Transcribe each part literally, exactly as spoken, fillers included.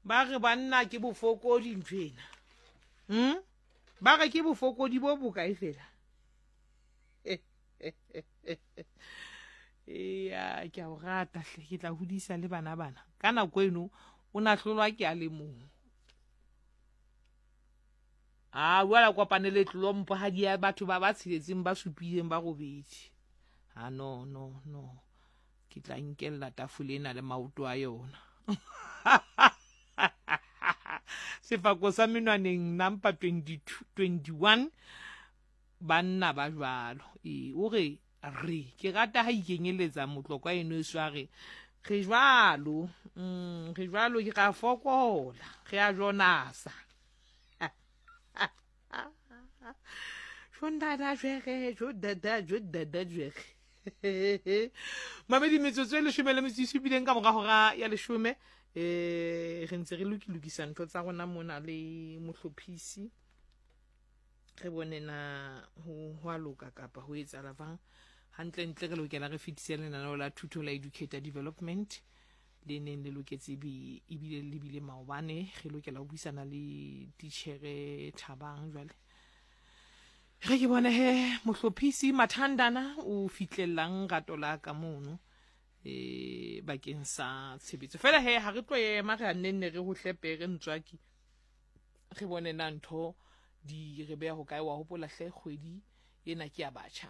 Ba re banna ke bofokodi ntho ena. Hmm? Ba re ke bofokodi bo bokae fela? Eya, ke a o rata hle, ke tla hodisa le bana bana. Ka nako eno o na hlolwa ke a le mong. A jwale kopane le tlompo ha di ya batho ba ba tsheletseng ba supileng ba robedi. Ha no no no. Ke tla nkella tafole ena le maoto a yona. Sefako sa menwaneng number twenty-two, twenty-one banna ba jwalo. E o re re ke rata ha ikenyeletsa motlokwa eno e sware re jwalo. Mm, re jwalo ke ra fokola, re a jonasa. Jondada jwere, jodada jodada jwere. Mamedi metsotso e leshome le metso e supileng ka mora hora ya leshome. Eh re ntse re lokilokisa ntho tsa rona mona le mohlophisi. Re bone na ho ho a loka kapa ho etsahala jwang. Hantle ntle re lokela re fetise lenaneo la thuto la Educator Development le neng le loketse bi ebile le bile maobane. Re lokela ho buisana le titjhere Thabang jwale. Re ke bone he mohlophisi Mathandana o fitlellang rato la ka mono e bakeng sa tshebetso. Fela he ha re tlo ema re a nenne re ho hlepe re ntswaki. Re bone na ntho di re beha ho kae. Wa hopola hle kgwedi ena ke ya batjha.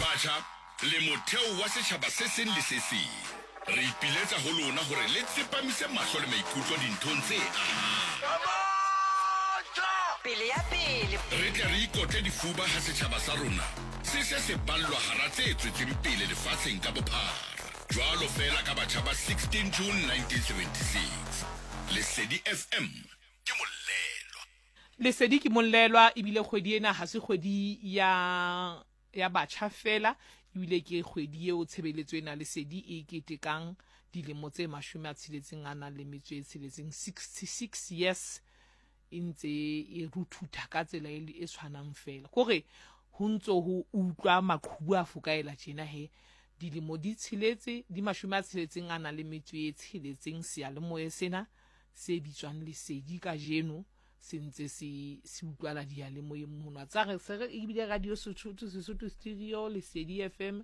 Batjha le motheo wa setjhaba se seng le se seng. Re ipiletsa ho lona hore le tsepamise mahlo le maikutlo dinthong tse ahang. Pele ya pele. Re tle re ikotle difuba ha setjhaba sa rona se se se ballwa hara tse tswetseng pele lefatsheng ka bophara. Jwalo fela ka batjha ba sixteen June nineteen seventy-six. Lesedi F M ke mollelwa. Lesedi ke mollelwa ebile kgwedi ena ha se kgwedi ya ya batjha fela, ebile ke kgwedi eo tshebeletso ena Lesedi e ketekang dilemo tse mashome a tsheletseng a nang le metso e tsheletseng, sixty-six years e ntse e ruthutha ka tsela e e tshwanang fela. Kore ho ntso ho utlwa maqhubu a fokaela tjena he dilemo di tsheletse di mashome a tsheletseng a nang le metso e tsheletseng seyalemoya sena se bitswang Lesedi kajeno se ntse se se utlwala diyalemoyeng mono. Tsa re se re ebile radio Sesotho, Sesotho Stereo, Lesedi F M,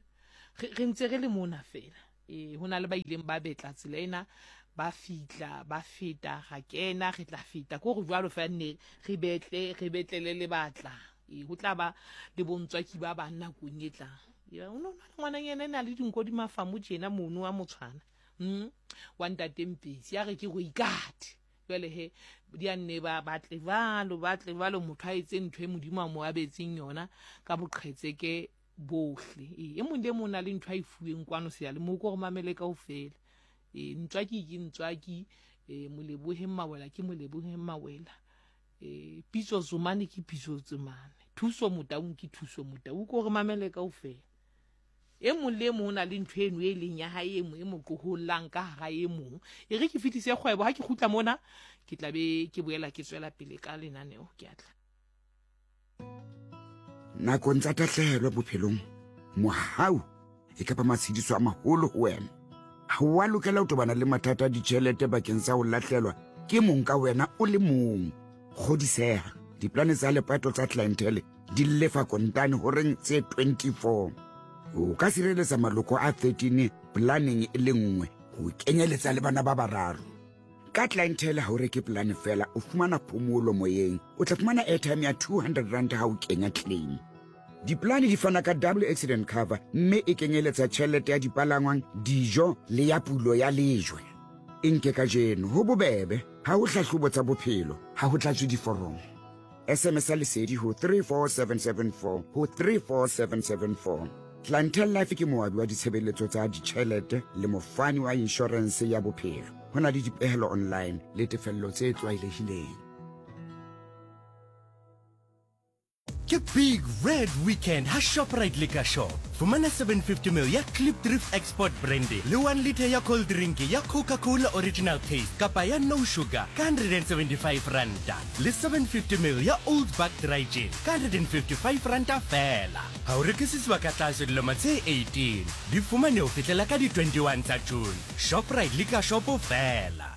re re ntse re le mona fela. E ho na le ba ileng ba betla tsela ena, ba fitla, ba feta, ra kena, re tla feta. Ko re jwalo fela ne re betle, re betlele le batla. E ho tla ba le bontswaki ba bang nakong e tlang. Ya o no na le ngwananyana ena le dinko di mafamo tjena mono wa motshwana. Mm wa ntate Mpetsi ya re ke go ikate. Jwale he di a nne ba batle jwalo, batle jwalo motho a etse ntho e Modimo a mo abetseng yona ka boqhetseke bohle. E e mong le mong o na le ntho a e fuweng kwano seyalemoya ko re mamele kaofela. E ntswaki ke ntswaki, e Moleboheng Mawela ke Moleboheng Mawela. E Pitso Zumane ke Pitso Zumane. Thuso Motaung ke Thuso Motaung ko re mamele kaofela. E mong le mong o na le ntho eno e leng ya hae e mo e mo qohollang ka hara e mong. E re ke fetise kgwebo ha ke kgutla mona ke tla be ke boela ke tswela pele ka lenaneo ke a tla. Nakong tsa tahlehelo bophelong, mohau e kapa matshediso a maholo ho wena. Ha o a lokela ho tobana le mathata a ditjhelete bakeng sa ho lahlelwa ke mong ka wena o le mong. Kgodiseha, diplane tsa lepato tsa clientele di lefa kontane horeng tse twenty-four. O ka sireletsa maloko a thirteen planeng e le nngwe ho kenyeletsa le bana ba bararo. Ka clientele ha o reke plane fela, o fumana phomolo moyeng. O tla fumana airtime ya two hundred rand ha o kenya claim. Diplane di fana ka double accident cover mme e kenyeletsa tjhelete ya dipalangwang, dijo le ya pulo ya lejwe. E nke kajeno ho bobebe, ha ho hlahlobo tsa bophelo, ha ho tlatswe diforomo. S M S ya Lesedi ho three four seven seven four ho three four seven seven four. Clientele Life ke moabi wa ditshebeletso tsa ditjhelete le mofani wa inshorense ya bophelo. Ho na le dipehelo online le tefello tse tlwaelehileng. Ke Big Red Weekend ha ShopRite Liquor Shop. Fumana seven fifty mil ya Klipdrift Export Brandy le one liter ya cold drink ya Coca-Cola Original Taste kapa ya No Sugar ka hundred and seventy-five ranta. Le seven fifty mil ya Old Buck Dry Gin ka hundred and fifty-five ranta fela. Ha o rekisiswa ka tlase dilemo tse eighteen. Di fumane ho fihlela ka di twenty-one tsa June. ShopRite Liquor Shop fela.